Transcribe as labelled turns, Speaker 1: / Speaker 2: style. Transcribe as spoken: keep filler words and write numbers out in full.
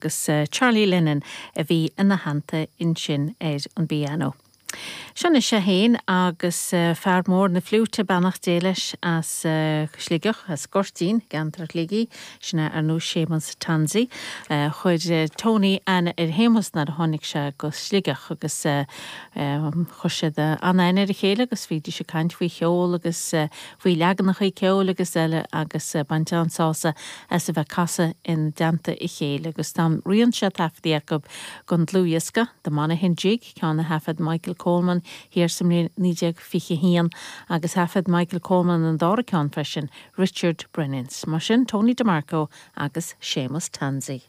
Speaker 1: Agus uh, Charlie Lennon a bhí ina theannta ansin ar an bpianó. Sin sé héin agus uh, fear mór na fliúite beannacht Dé leis as uh, Sligeach as Gortín gceantar Shligigh sin ar ndóigh Séamus Tansey. Uh, chuir uh, Tony aithne ar Shéamus nuair a tháinig sé go Sligeach agus uh, um, chuir siad an-aithne ar a chéile agus bhídís ag caint faoi cheol agus uh, faoi leaganacha ceoil agus eile agus uh, baint an-sásamh as a bheith casadh in dteannta a chéile agus tá roinnt taifeadtaí acu don dlúthdhiosca The Monaghan Jig ceann a thaifead Michael Coleman thiar sa mbliain naoi déag fiche haon agus thaifead Michael Coleman an dara ceann freisin Richard Brennan's, mar sin Tony DeMarco agus Séamus Tansey.